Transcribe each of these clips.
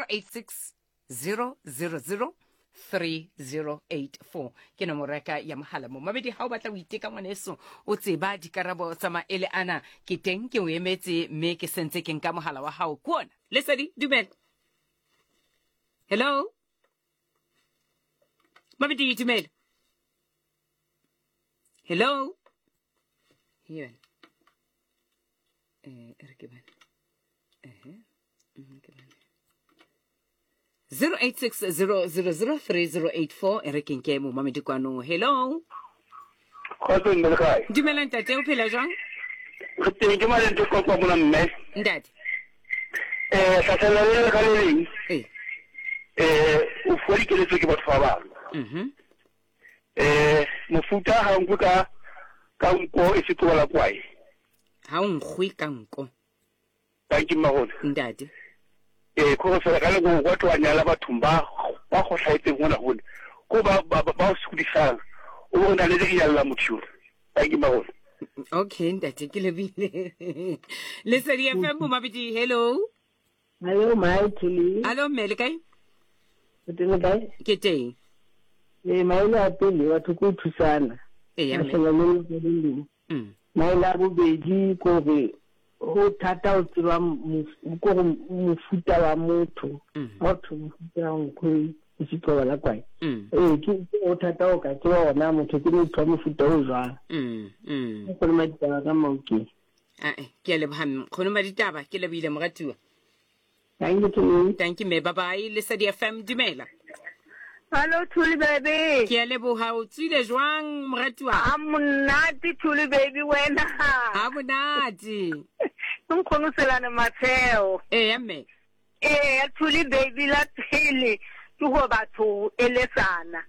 086 000 3084 ke nomoro ya ka ya mohala mo mabedi ga o batla o iteka ngwaneso o tseba dikarabo tsa maele ana ke teng ke o emetse mme ke sentse ke nka mohala wa gago ke ona lesedi dumela hello mabedi dumela hello here eh re ke bane ehe mhm, ke bane 0860003084 e re ke nke momamedi kwano hello Kgotso mme le kae? Dumela ntate o phela jwang? Re teng ke malente qoqa mona mme. Ntate. Eh hlahlela le ka le leng. Eh. Eh o fuwa dikeletso ke batho ba bang. Mhm. Eh mofuta ha nkwe ka ka nko e se tlola kwae. Ha o nkgwe ka nko. Thank you mmagone. Ntate. Eh go fela ka leko go tloa nyala bathong ba ba go hlaetseng gona gone. Ko ba ba ba o sukudisang. O bona le le nyalla motho yo. Thank you mmagone. Okay ntate ke lebile. Lesedi FM Mabidi hello. Hello my Thuli. Hello mme le kae? O teng le kae? Ke teng. Ee maele a pele batho ko thusana. Ee mme. Mahlelo le le leng. Maele a bobedi ko re ho thata o tseba ko go mofuta wa motho. Ha o thwe mofuta wa nkgo e se qoba la kwae. Ee ke o thata o ka tseba ona motho ke motho wa mofuta o jwang. Go le maditaba ka maokeng. Ae, ke a leboga mme. Kgono Maditaba, ke lebohile moratuwa. Thank you Thuli. Thank you mme. Bye bye. Lesedi FM, dumela. Hello Thuli baby. Ke a leboga o tswile jwang moratuwa? A monate Thuli baby wena. A monate. Ke nkgono Selane Matsheo. Eya mme. Eya Thuli baby la pele ke go batho eletsana.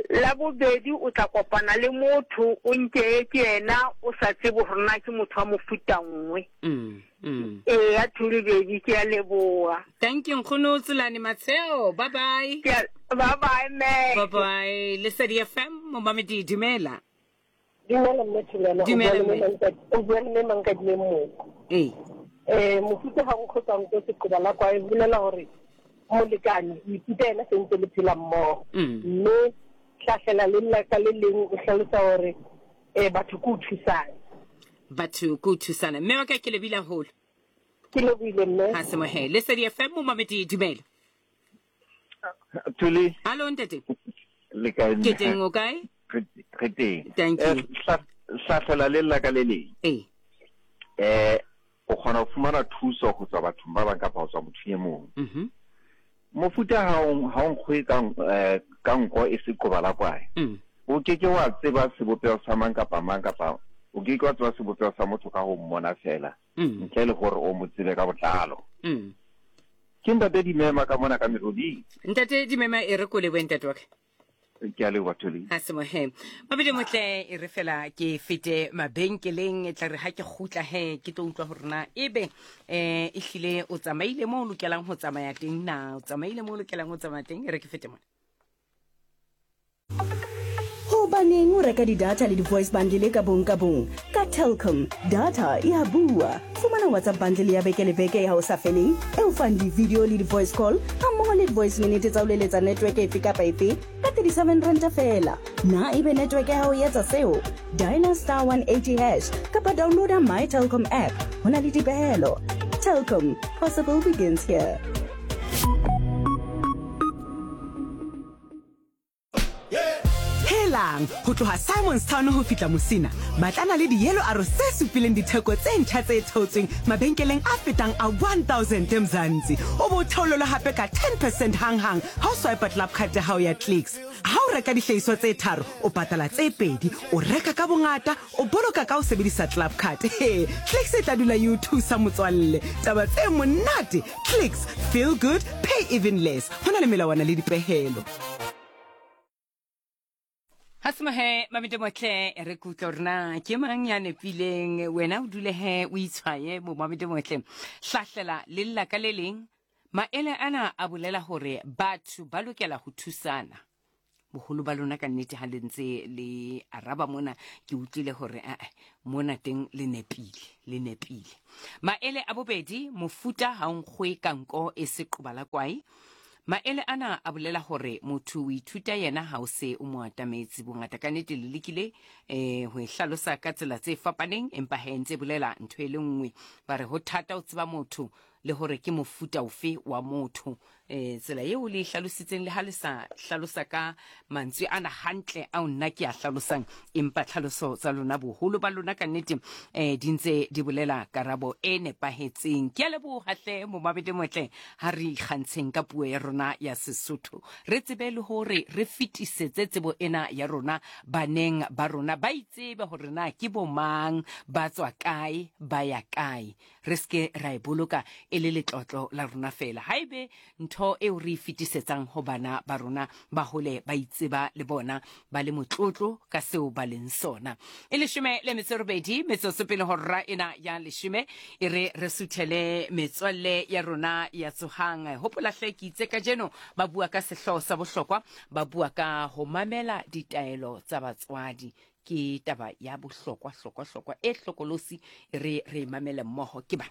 La bobedi o tla kopana le motho o nke ke yena o sa tsebe gore na ke motho wa mofuta nngwe. Eya Thuli baby ke a leboga. Thank you nkgono Tselane Matsheo. Bye bye. Ke a bye bye mme. Bye bye. Lesedi FM momamedi dumela. Dumela mme Thulana. Dumela mme. O bua le mme Mankadile Mmoko. Ee. Eh mofuta ga nkgo tsa nko seqoba la kwae bolela hore molekane o ithuta yena sentse le phela mmogo. Mme hlahlela le nna ka le leng o hlalosa hore eh batho ke o thusana. Batho ke o thusana. Mme wa ka ke lebile haholo. Ke lebohile mme. Ha se mohe. Lesedi FM momamedi dumela. Thuli. Hallo ntate. Le kae? Ke teng o kae? Re teng. Thank you. Hlahlela le lla ka le leng. Ee. Eh o kgona ho fumana thuso ho tswa bathong ba bang kapa ho tswa mothong e mong. Mhm. Mofuta ha o ha o nkgwe ka eh, ka nko e se qoba la kwae. O ke ke wa tseba sebopeho sa mang kapa mang kapa o ke ke wa tseba sebopeho sa motho ka ho mmona fela ntle le hore o mo tsebe ka botlalo. Ke ntate Dimema ka mona ka Meroding. Ntate Dimema e re ko lebohe ntate wa ka. Ke a leboha Tholi. Ha se mohe. Mabedi motle e re fela ke fete mabenkeleng e tla re ha ke kgutla he ke tlo utlwa hore na ebe eh e hlile o tsamaile mo o lokelang ho tsamaya teng na o tsamaile mo o lokelang ho tsamaya teng e re ke fete mona. Hobaneng o reka di-data le di-voice bundle ka bong ka bong? Ka Telkom, data e a bua. Fumana WhatsApp bundle ya beke le beke ya ho sa feleng e o fang di-video le di-voice call hammoho le di-voice minute tsa ho leletsa network efe kapa efe ka 37 ranta feela. Na ebe network ya hao e etsa seo? Dialer star 180 hash kapa downloada My Telkom app. Ho na le dipehelo. Telkom, possible begins here. Helang, ho tloha Simonstown ho fihla Musina, batlana le di-yellow arrows tse supileng ditheko tse ntjha tse theotsweng mabenkeleng a fetang a 1000 Mzansi. O bo theolelwe hape ka 10 percent hanghang ha o swipe club card ya hao ya Clicks. Ha o reka dihlahiswa tse tharo, o patala tse pedi. O reka ka bongata, o boloka ka ho sebedisa club card. He, Clicks e tla dula e o thusa motswalle. Taba tse monate! Clicks, feel good, pay even less. Ho na le melawana le dipehelo. Ha se mohe mamete motle re kutlwa hore na ke mang ya nepileng wena o dule he o itshwaye mo mamete motle hlahlela le lla ka le leng maele ana a bolela hore batho ba lokela ho thusana. Boholo ba lona ka nnete ha le ntse le araba mona, ke utlwile hore ae mona teng le nepile, le nepile. Maele a bobedi, mofuta ha o nkgwe ka nko e se qoba la kwae. Maele ana a bolela hore motho o ithuta yena ha o se o mo atametse. Bongata ka nnete le lekile eh ho e hlalosa ka tsela tse fapaneng, empa he ntse bolela ntho e le nngwe. Ba re ho thata ho tseba motho le hore ke mofuta ofe wa motho. Um tsela eo le e hlalositseng le ha le sa hlalosa ka mantswe ana hantle ao nna ke a hlalosang, empa tlhaloso tsa lona boholo ba lona ka nnete um di ntse di bolela karabo e nepahetseng. Ke a leboha hle momabedi motle, ha re ikgantsheng ka puo ya rona ya Sesotho, re tsebe le hore re fetisetse tsebo ena ya rona baneng ba rona, ba itsebe hore na ke bomang, ba tswa kae, ba ya kae. Re se ke ra e boloka e le letlotlo la rona feela. Haebe ntho eo re e fetisetsang ho bana ba rona, ba hole ba itseba le bona, ba le motlotlo ka seo ba leng sona. E leshome le metso e robedi metsotso pele hora ena ya leshome, e re re suthele metswalle ya rona ya Tsohang. Hopola hle, ke itse kajeno ba bua ka sehlooho sa bohlokwa, ba bua ka ho mamela ditaelo tsa batswadi. Ke taba ya bohlokwa, hlokwa, hlokwa e hlokolosi, e re re e mamele mmoho. Ke bana.